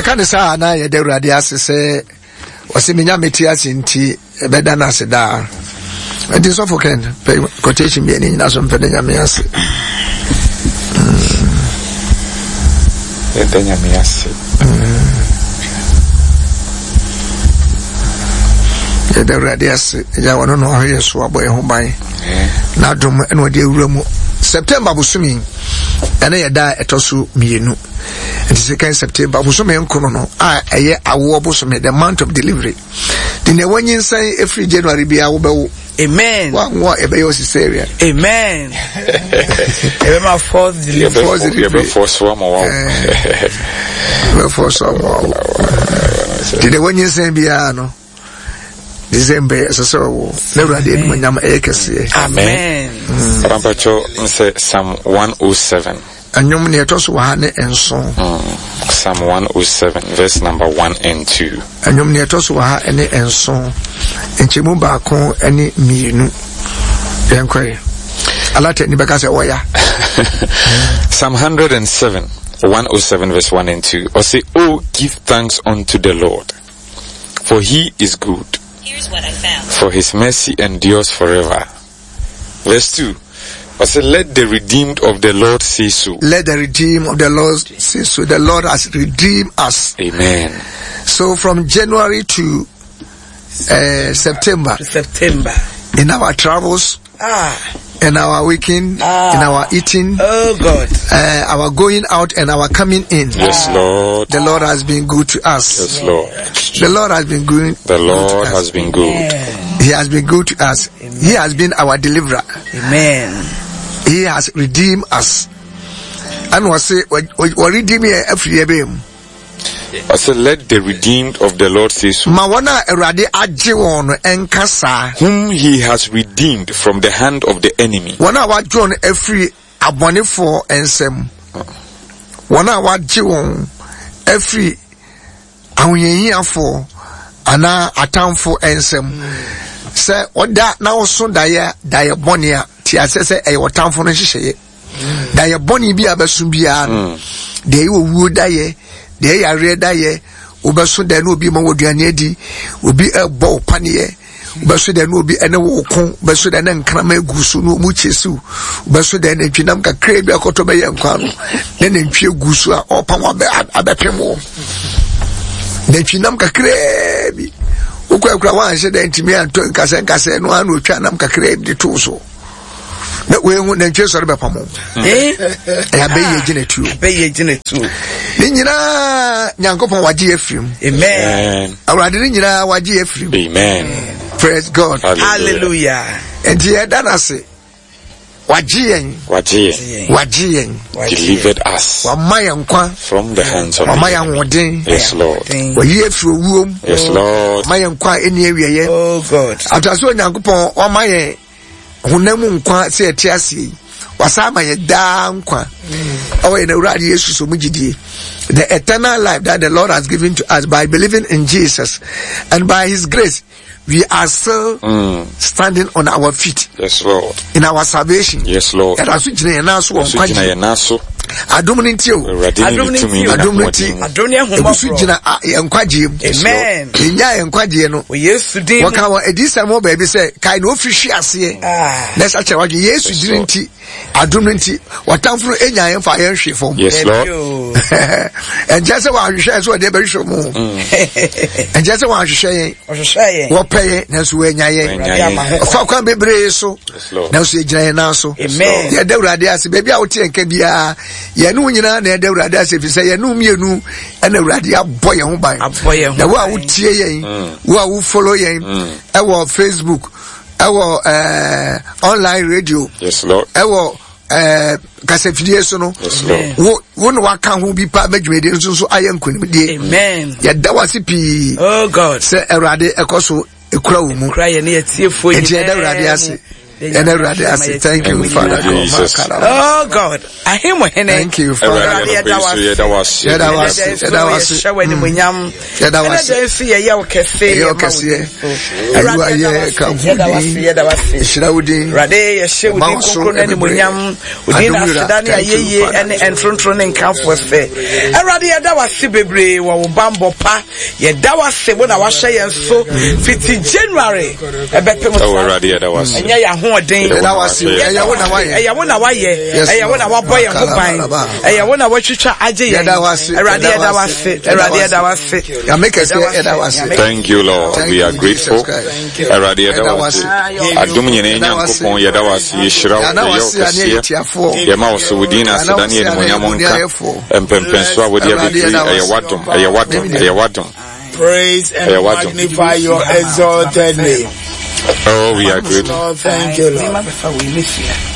Yɛka ne saa na yɛda Awurade ase sɛ ɔsɛ menya mete ase nti ɛbɛda no ase daa. Nti sɔfo Ken pɛ quotation bi ɛne nyina so mpɛ da Nyame ase. Yɛda Nyame ase. Yɛda Awurade ase. Agya wɔno na ɔhwɛ yɛ so abɔ yɛn ho ban. N'adom ɛna ɔde awura mu. September bosome ɛne yɛ da a ɛtɔ so mmienu. Nti sɛ kan September bosome nkono no a ɛyɛ awoɔ bosome, the month of delivery. De nea wanyinsɛn efiri January biara wobɛwo. Amen. Wanwo a ɛbɛyɛ ɔsisaria. Amen. Ɛbɛma fourth delivery. Fourth delivery. Yɛbɛfɔ so ama wawo. Yɛbɛfɔ so ama wawo. De nea wanyinsɛn biara no. December ɛsɛ sɛ ɔwɔ na Awurade animuonyam ɛyɛ kɛseɛ. Amen. Pampatwɔ nsɛ Psalm 107. Ɛnwom nea ɛtɔ so wɔ ha ne nson. Psalm 107 verse number 1 and 2. Ɛnwom nea ɛtɔ so wɔ ha ne nson. Nkyɛmu baako ne mmienu. Yɛn kɔɛ. Alata ni bɛka sɛ ɔya. Psalm 107, 107 verse 1 and 2. Ɔse, Oh, give thanks unto the Lord, for he is good. Here's what I found. For his mercy endures forever. Verse 2. I said, let the redeemed of the Lord say so. Let the redeemed of the Lord say so. The Lord has redeemed us. Amen. So from January to September. To September. In our travels, in our waking, in our eating, Oh God, our going out and our coming in. Yes, Lord. The Lord has been good to us. Yes, Lord. The Lord has been good. The Lord to us. has been good. Amen. He has been good to us. Amen. He has been our deliverer. Amen. He has redeemed us. And was say, we redeem here every year. I said, let the redeemed of the Lord say so. Ma wɔn a Awurade agye wɔn no nka saa. Whom he has redeemed from the hand of the enemy. Wɔn a wagye wɔn afiri abɔnefoɔ nsam. Wɔn a wagye wɔn afiri ahohiahiafoɔ anaa atamfo nsam. Sɛ ɔda na ɔso daeɛ daeɛ bɔne a, te aseɛ sɛ ɛyɛ ɔtamfo no nhyehyɛeɛ. Daeɛ bɔne bi a bɛso biara no, deɛ ɛyɛ owuo daeɛ, deɛ ɛyɛ yareɛ daeɛ, wobɛso daeɛ na obi ma wɔ aduane adi, obi ɛbɔ wo paneɛ, wobɛso daeɛ na obi ɛne wo ko, wobɛso daeɛ na nkrama egu so na ɔmu kyɛ siw, wobɛso daeɛ na ntwinam kakra bi akɔtɔ bɛyɛ nkwa no, na nantwie gu so a ɔpam abɛpem wo. Nantwinam kakra bi, wokɔ akura wanhyɛ dɛ ntumi antɔ nkasɛ nkasɛ no ano otwa nam kakra bi de to so. Na wehu nantwie sɔre bɛpam wo. Ɛyɛ abɛyɛ gyina tuo. Abɛyɛ gyina tuo. Ne nyinaa Nyankopɔn wagye yɛ firim. Amen. Awurade ne nyinaa wagye yɛ firim. Amen. Praise God. Hallelujah. Nti yɛda no ase. Wagye yɛn. Wagye yɛn. Wagye yɛn. Delivered us. Wama yɛn nkwa. From the hands of Wama the yɛn enemy. ahoɔden. Yes, Lord. Wayi afiri owuom. Yes, Lord. Wama yɛn nkwa a ɛnni awieeɛ. Oh God. Atase Onyankopɔn wama yɛn honam mu nkwa sɛ yɛte aseɛ yi. Wasa ama yɛn daa nkwa. Ɛwɔ yɛn Awurade Yesu so mu gyidie. The eternal life that the Lord has given to us by believing in Jesus and by his grace, we are still standing on our feet. Yes, Lord. In our salvation. Yes, Lord. Yɛda so gyina yɛn nan so wɔ So gyina nkwagye. yɛn nan so. Adom no nti o. Awurade ne Adom ne ne tumi nti ne o. Adom no nti. n'ahoɔden. Adom ne Egu so ahummɔborɔ. gyina yɛn nkwagyeɛ mu. Amen. Yɛnyaa yɛn nkwagyeɛ no. Wɔ Yesu din mu. Wɔka wɔ adiyisɛm hɔ baabi sɛ kae na ofiri hwe aseɛ. Na ɛsɛ kyerɛ wadwene Yesu Yes, dini Lord. nti adom no nti wɔtamfo no enya yɛn fa yɛn hwe fam. Yes, Lord. Ɛnkyɛ sɛ wɔahwehwɛ sɛ wɔde bɛhwehwɛ mu. Ɛnkyɛ sɛ wɔahwehwɛ yɛn. Ɔhwehwɛ yɛn. Wɔpɛ yɛn nanso wɔanya yɛn. Wɔanya yɛn. Ɔfa kwan bebree so. Yes, Lord. Nanso yɛgyina yɛn nan so. Amen. Yɛda Awurade ase. Baabi a wote yɛn nka biara, yɛne wo nyinaa na yɛda Awurade ase ɛfiri sɛ yɛne wo mmienu ɛna Awurade abɔ yɛn ho ban. Abɔ yɛn ho Na wo a ban. wotie yɛn, wo a wo follow yɛn ɛwɔ Facebook, ɛwɔ online radio, Yes, Lord. ɛwɔ kasafidie so no, Yes, Lord. wo na waka ho bi pa bɛdwumadie nso nso ayɛ nkonimdie. Amen. Yɛda wo ase pii Oh God. sɛ Awurade ɛkɔ so ekura wo mu. Kura yɛn ne yɛtiefoɔ Enti yɛda Awurade ase. Yɛda Awurade ase. Thank you, Father God. Oh God, ahemmo hene. Thank you, Father. Awurade yɛda wo ase. Yɛda wo ase. Yɛda wo ase. Yɛhyɛ wo animuonyam. Yɛda wo ase. Ɛnɛ nso yɛyɛ wo kɛse. Yɛyɛ wo kɛseɛ. Ayiwa yɛ ka ho din. Yɛda wo ase. Nhyira wo din. Awurade yɛhyɛ wo din kronkron no animuonyam. Wo din na aseda ne ayɛyie ne ntontoro ne nkamfoɔ sɛ. Awurade yɛda wo ase bebree wɔ wo bammɔ pa. Yɛda wo ase wo na wahyɛ yɛn so fiti January ɛbɛpem saa. Awurade yɛda wo ase. Ɛnyɛ yɛn ahoɔden. Yɛda wo ase. Ɛyɛ wo na wayɛ. Ɛyɛ wo na wayɛ. Ɛyɛ wo na wabɔ yɛn ho ban. Ɛyɛ wo na watwitwa agye yɛn. Yɛda wo ase. Awurade yɛda wo ase. Awurade yɛda wo ase. Nyame kɛseɛ yɛda wo ase. Thank you Lord. We are grateful. Awurade yɛda wo ase. Adom nyinaa Nyankopɔn yɛda wo ase. Yɛhyira wo. Yɛyɛ wo kɛseɛ. Yɛma wo so wo din na aseda ne animuonyam nka. Mpɛmpɛnso a wode abɛduru yi, ɛyɛ w'adom, ɛyɛ w'adom, ɛyɛ w'adom. Praise and magnify your exalted name. Oh, we are grateful. Lord, thank you, Lord.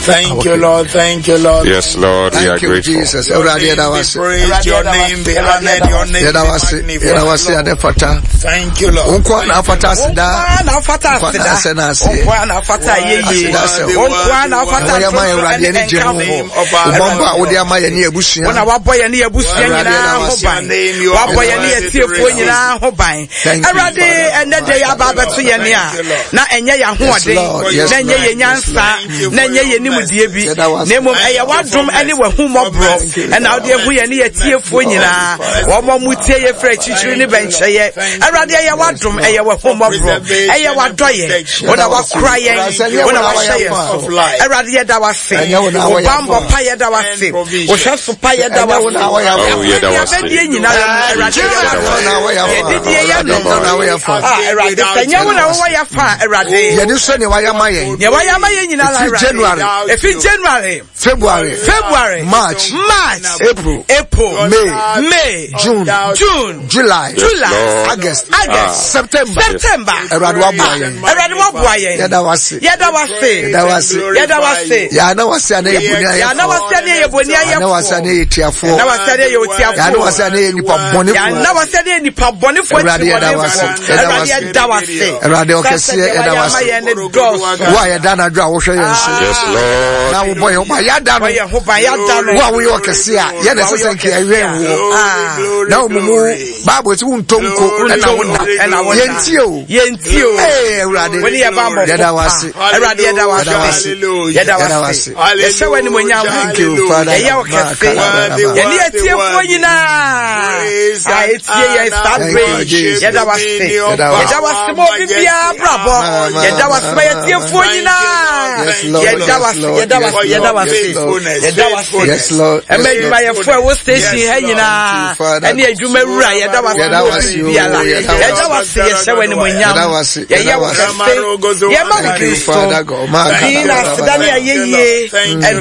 Thank you, Lord. Thank you, Lord. Yes, Lord, we are grateful. Jesus. Your name be praised, your name be honored, your name be magnified. Thank you, Lord. Wo na afata aseda. Wo na afata aseda. Wo na afata ayeye. Wo na afata Awurade ani gye ho. Ɔbɔmbɔ a wode ama yɛn ne abusua. Wo na wabɔ yɛn ne abusua nyinaa ho ban. Wabɔ yɛn ne atiefoɔ nyinaa ho ban. Awurade ɛnɛ de yɛ aba abɛto yɛn a na ɛnyɛ yɛn ahoɔden na ɛnyɛ yɛn nyansa na ɛnyɛ yɛn nimdeɛ bi na mmom ɛyɛ w'adom ne w'ahummɔborɔ ɛna wode ahu yɛn ne yɛtiefoɔ nyinaa wɔn a wɔtie yɛ firi akyirikyiri ne bɛnkyɛyɛ. Awurade ɛyɛ w'adom ɛyɛ w'ahummɔborɔ ɛyɛ w'adɔyɛ wo na wakora yɛn wo na wahyɛ yɛn so. Awurade yɛda w'ase wo bammɔ pa yɛda w'ase wo hwɛso pa yɛda w'ase yɛbɛdie nyinaa Awurade yɛdidie yɛ nom Awurade sɛ nyɛ wo na wowɔ yɛ fa Awurade yɛne sɛ nea wayɛ ama yɛn nea wayɛ ama yɛn nyinaa Awurade January ɛfi January February February March March April April May May June June July July August August September September Awurade waboa yɛn Awurade waboa yɛn yɛda wase yɛda wase yɛda wase yɛda wase yɛana wase ana yɛ boni ayɛfoɔ yɛana wase ana yɛ boni ayɛfoɔ yɛana wase ana yɛ tiafoɔ yɛana wase ana yɛ otiafoɔ yɛana wase ana yɛ nipa bɔnefoɔ yɛana wase ana yɛ nipa bɔnefoɔ Awurade yɛda wase Awurade yɛda wase Awurade ɔkɛseɛ yɛda wase wo a yɛda anadwo a wohwɛ yɛn so Yes, Lord. na wobɔ yɛn ho ban yɛada no wo a woyɛ ɔkɛse a yɛna ɛsɛ sɛ nka yɛwɛn woɔ na wo mumu bible sɛ wontɔ nko ɛna wona yɛntie o yɛntie o ee awurade wone yɛ ba mmɔfo yɛda wase awurade yɛda wase yɛda wase yɛhyɛ wɔ animonyam thank you father yɛyɛ wo kɛse yɛne yɛtiefoɔ nyinaa a ɛtie yɛn saa berɛ yi yɛda wase yɛda wase ma obi biara brabɔ yɛda wase ma yɛtiefoɔ nyinaa yɛda wase yɛda wase yɛda wase yɛda wase ɛma adwumayɛfoɔ a ɛwɔ station ha nyinaa ɛne adwuma wura yɛda wase ma obi biara yɛda wase yɛhyɛ wɔ animonyam yɛyɛ wo kɛse yɛma wo din so din na aseda ne ayɛyie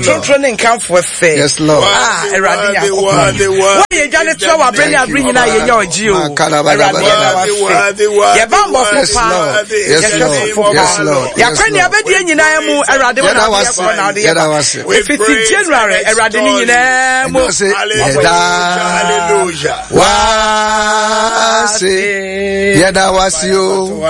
ntontoro ne nkamfoɔ sɛ a awurade nyankopɔn woayɛ dwa ne toa wɔ aberɛ ne aberɛ nyinaa yɛnya ɔgye o awurade yɛda wase yɛba mbɔfo paa yɛhwɛ sofo paa yɛakɔ ne abɛdeɛ nyinaa mu awurade wo na wode yɛkɔ na wode yɛba ɛfiti january awurade ne nyinaa mu yɛda wase yɛda wase o.